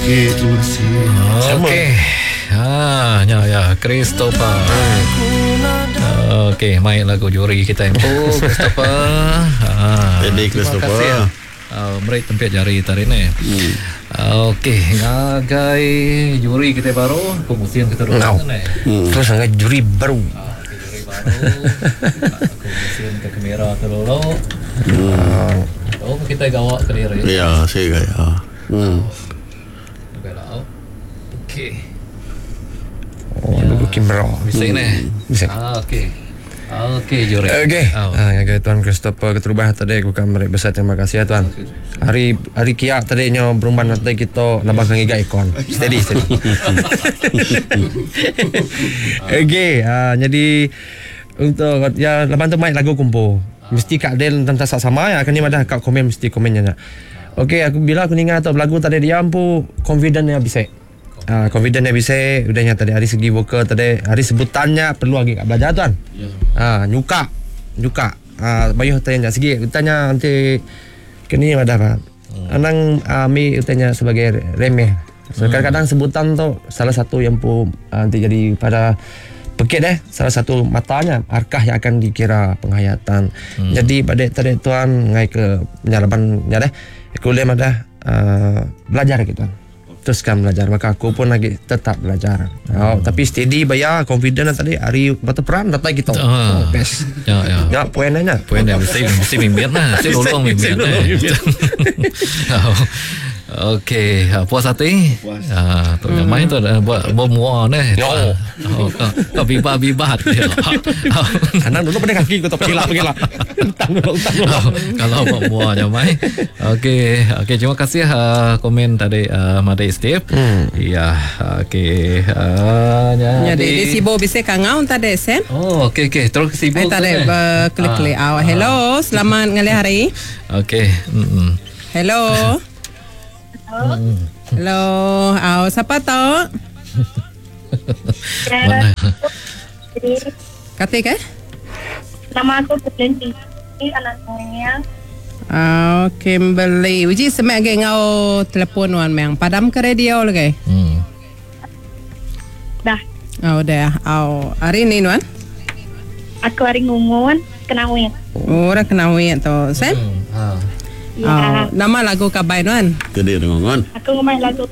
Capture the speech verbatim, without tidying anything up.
Okey, terima kasih. Okey. Ha, ya ya Christopher. Okey, main lagu juri kita empu Christopher. Ha. Jadi terima Christopher. kasih. Uh, meri tempit jari tadi ni. Hmm. Okey, ngagai juri kita baru, pemusian kita dulu Ngau. ni. Hmm. Terus ngagai juri baru. Ah, okey, juri baru. Aku musim ke kamera tu dulu. Hmm. Oh, kita gawak ke diri. Ya, saya gaya. Hmm. Okey lah. Okey. Oh, lagu kamera. Bisa ni. Bisa. Ah, okey. Okey, juri. Okey. Oh. Ah, ngagai Tuan Christopher keterubah tadi aku kan meri besar terima kasih ya tuan. Hari hari kia tadi nyo berumban tadi kita nambah ngiga ikon. Steady steady. Okey, ah, jadi untuk ya lepas tu main lagu kumpul. Mesti Kak Del tentang sama ya kan ni madah kak komen mesti komennya nak. Okey, aku bila aku ninga atau lagu tadi dia ampu confident nya bisa. Ah, confident nya bisa, udahnya tadi hari segi vokal tadi hari sebutannya perlu lagi kak belajar tuan. Ah, nyuka. Nyuka. Ah, bayuh tanya segi tanya nanti kini madah pak. Anang ah, mi tanya sebagai remeh. So, kadang-kadang sebutan tu salah satu yang pu ah, nanti jadi pada pekit eh salah satu matanya arkah yang akan dikira penghayatan. Hmm. Jadi pada tadi tuan ngai ke penyarapan nya deh. Aku lem ada uh, belajar gitu. Teruskan belajar maka aku pun lagi tetap belajar. Hmm. Oh, tapi steady bayar confident tadi hari batu peran datang gitu. Ah. Oh, best. Ya, ya. Ya poinnya. Poin dia mesti mesti mimpin lah. Mesti lolong mimpin. Oh. Okey, ah, puas hati? Puas. Ah, tu yang main tu ada buat bermua ni. Yo. Oh, kau, kau bibat-bibat dia. Anang dulu pada kaki kau tak pergi lah pergi lah. Utang dulu utang dulu. Oh, kalau buat muar je mai. Okey, okey terima kasih uh, komen tadi uh, Madik Steve. Hmm. Ya, okey. Uh, Jadi di Sibo bisa kangau tadi Sam. Oh, okey okey, terus ke Sibu. Eh tadi tu, eh? berklik-klik Ah, awak. Hello, selamat ngalih hari. Okey. Mm. Hello. Hello. Aw, siapa tu? Mana? Kata ke? Nama aku Kimberly, anak saya. Aw, Kimberly. Uji semak ke ngau telefon wan meng. Padam ke radio lagi. Hmm. Dah, Oh, dah. Aw, hari ni nuan. aku hari ngungun, kenawin. Oh, dah kena wit tu. Sam? Hmm. Ah. Ya, Aw, nama lagu kabai nuan. Jadi dengan aku ngomong lagu